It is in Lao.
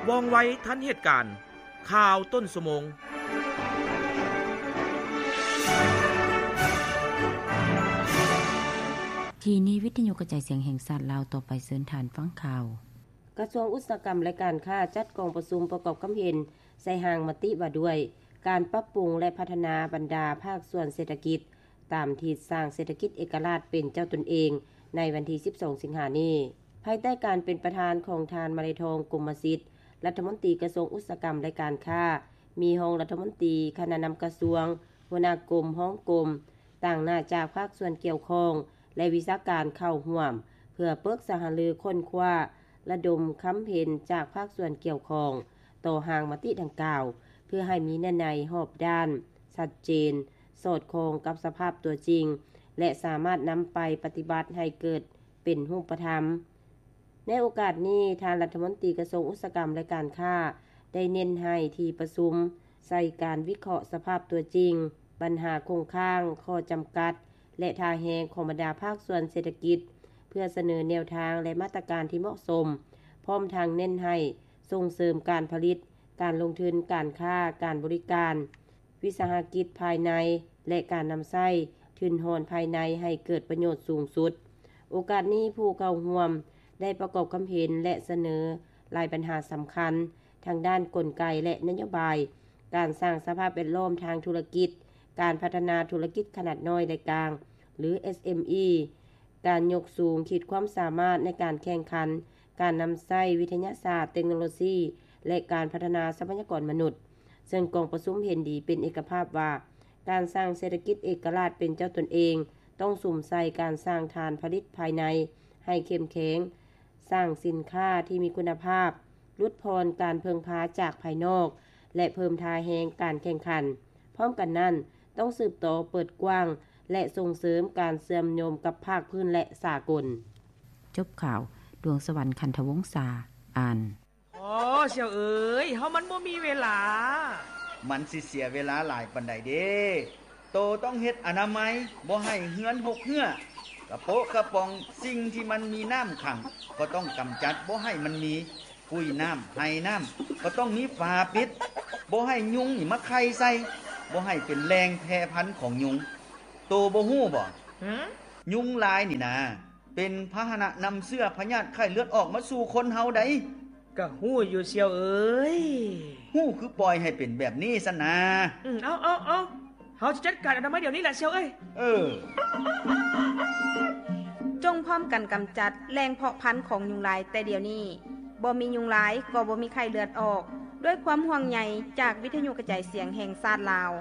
ວ່ອງໄວທັນເຫດການ. ຂ່າວຕົ້ນຊົ່ວໂມງ. ທີ່ນີ້ວິທະຍຸກະຈາຍສຽງແຫ່ງຊາດລາວ, ຕໍ່ໄປເຊີນທ່ານຟັງຂ່າວ. ກະຊວງອຸດສາຫະກຳ ແລະ ການຄ້າ ຈັດກອງປະຊຸມປະກອບຄຳເຫັນໃສ່ຮ່າງມະຕິວ່າດ້ວຍການປັບປຸງ ແລະ ພັດທະນາບັນດາພາກສ່ວນເສດຖະກິດ ຕາມທິດສ້າງເສດຖະກິດເອກະລາດເປັນເຈົ້າຕົນເອງ ໃນວັນທີສິບສອງ ສິງຫານີ້ ພາຍໃຕ້ການເປັນປະທານຂອງທ່ານ ມະໄລທອງ ກົມມະສິດ ລັດຖະມົນຕີກະຊວງອຸດສາຫະກຳ ແລະ ການຄ້າ, ມີຮອງລັດຖະມົນຕີ, ຄະນະນຳກະຊວງ, ຫົວໜ້າກົມ, ຮອງກົມ, ຕາງໜ້າຈາກພາກສ່ວນກ່ຽວຂ້ອງ ແລະ ວິຊາການເຂົ້າຮ່ວມ ເພື່ອປຶກສາຫາລືຄົ້ນຄວ້າ ລະດົມຄຳເຫັນຈາກພາກສ່ວນກ່ຽວຂ້ອງຕໍ່ຮ່າງມະຕິດັ່ງກ່າວ ເພື່ອໃຫ້ມີເນື້ອໃນຮອບດ້ານ, ຊັດເຈນ, ສອດຄ່ອງກັບສະພາບຕົວຈິງ ແລະ ສາມາດນຳໄປປະຕິບັດໃຫ້ເກີດເປັນຮູບປະທຳ. ໃນໂອກາດນີ້, ທ່ານລັດຖະມົນຕີກະຊວງອຸດສາຫະກຳ ແລະ ການຄ້າ ໄດ້ເນັ້ນໃຫ້ທີ່ປະຊຸມໃສ່ການວິເຄາະສະພາບຕົວຈິງ, ບັນຫາຄົງຄ້າງ, ຂໍ້ຈຳກັດ ແລະ ທ່າແຮງຂອງບັນດາພາກສ່ວນເສດຖະກິດ ເພື່ອສະເໜີແນວທາງ ແລະ ມາດຕະການທີ່ເໝາະສົມ, ພ້ອມທັງເນັ້ນໃຫ້ສົ່ງເສີມການຜະລິດ, ການລົງທຶນ, ການຄ້າ, ການບໍລິການ, ວິສາຫະກິດພາຍໃນ ແລະ ການນຳໃຊ້ທຶນຮອນພາຍໃນໃຫ້ເກີດປະໂຫຍດສູງສຸດ. ໂອກາດນີ້, ຜູ້ເຂົ້າຮ່ວມໄດ້ປະກອບຄຳເຫັນ ແລະ ສະເໜີຫຼາຍບັນຫາສຳຄັນ ທັງດ້ານກົນໄກ ແລະ ນະໂຍບາຍ, ການສ້າງສະພາບແວດລ້ອມທາງທຸລະກິດ, ການພັດທະນາທຸລະກິດຂະໜາດນ້ອຍ ແລະ ກາງ ຫຼື ເອສເອັມອີ, ການຍົກສູງຂີດຄວາມສາມາດໃນການແຂ່ງຂັນ, ການນຳໃຊ້ວິທະຍາສາດ, ເຕັກໂນໂລຊີ ແລະ ການພັດທະນາຊັບພະຍາກອນມະນຸດ, ເຊິ່ງກອງປະຊຸມເຫັນດີເປັນເອກະພາບວ່າ ການສ້າງເສດຖະກິດເອກະລາດເປັນເຈົ້າຕົນເອງ ຕ້ອງສຸມໃສ່ການສ້າງຖານຜະລິດພາຍໃນໃຫ້ເຂັ້ມແຂງ, ສ້າງສິນຄ້າທີ່ມີຄຸນນະພາບ, ຫຼຸດຜ່ອນການເພິ່ງພາຈາກພາຍນອກ ແລະ ເພີ່ມທ່າແຮງການແຂ່ງຂັນ. ພ້ອມກັນນັ້ນ, ຕ້ອງສືບຕໍ່ເປີດກວ້າງ ແລະ ສົ່ງເສີມການເຊື່ອມໂຍງກັບພາກພື້ນ ແລະ ສາກົນ. ຈົບຂ່າວ, ດວງສະຫວັນ ຂັນທະວົງສາ ອ່ານ. ໂອ້ ສ່ຽວເອີຍ, ເຮົາມັນບໍ່ມີເວລາ. ມັນຊິເສຍເວລາຫຼາຍປານໃດເດ? ໂຕຕ້ອງເຮັດອະນາໄມ, ບໍ່ໃຫ້ເຮືອນຮົກເຮື້ອ, ກະໂປະກະປ໋ອງ, ສິ່ງທີ່ມັນມີນ້ຳຂັງ ກໍຕ້ອງກຳຈັດບໍ່ໃຫ້ມັນມີ, ກຸຍນ້ຳ, ໄຮນ້ຳ ກໍຕ້ອງມີຝາປິດ, ບໍ່ໃຫ້ຍຸງນີ້ມາໄຂ່ໃສ່, ບໍ່ໃຫ້ເປັນແຫຼ່ງແຜ່ພັນຂອງຍຸງ. ໂຕບໍ່ຮູ້ບໍ? ຫື? ຍຸງລາຍນີ້ນາ ເປັນພາຫະນະນຳເຊື້ອພະຍາດໄຂ້ເລືອດອອກມາສູ່ຄົນເຮົາໃດ໋. ກະຮູ້ຢູ່ສ່ຽວເອີຍ. ຮູ້ຄືປ່ອຍໃຫ້ເປັນແບບນີ້ຊັ້ນນາ. ອືມ ເອົາ ເອົາ ເອົາ ເຮົາຈະຈັດການອະນາໄມດຽວນີ້ລະສ່ຽວເອີຍ. ເອີ. ຈົ່ງພ້ອມກັນກຳຈັດແຫຼ່ງເພາະພັນຂອງຍຸງລາຍແຕ່ດຽວນີ້. ບໍ່ມີຍຸງລາຍກໍບໍ່ມີໄຂ້ເລືອດອອກ. ດ້ວຍຄວາມຫ່ວງໃຍຈາກວິທະຍຸກະຈາຍສຽງແຫ່ງຊາດລາວ.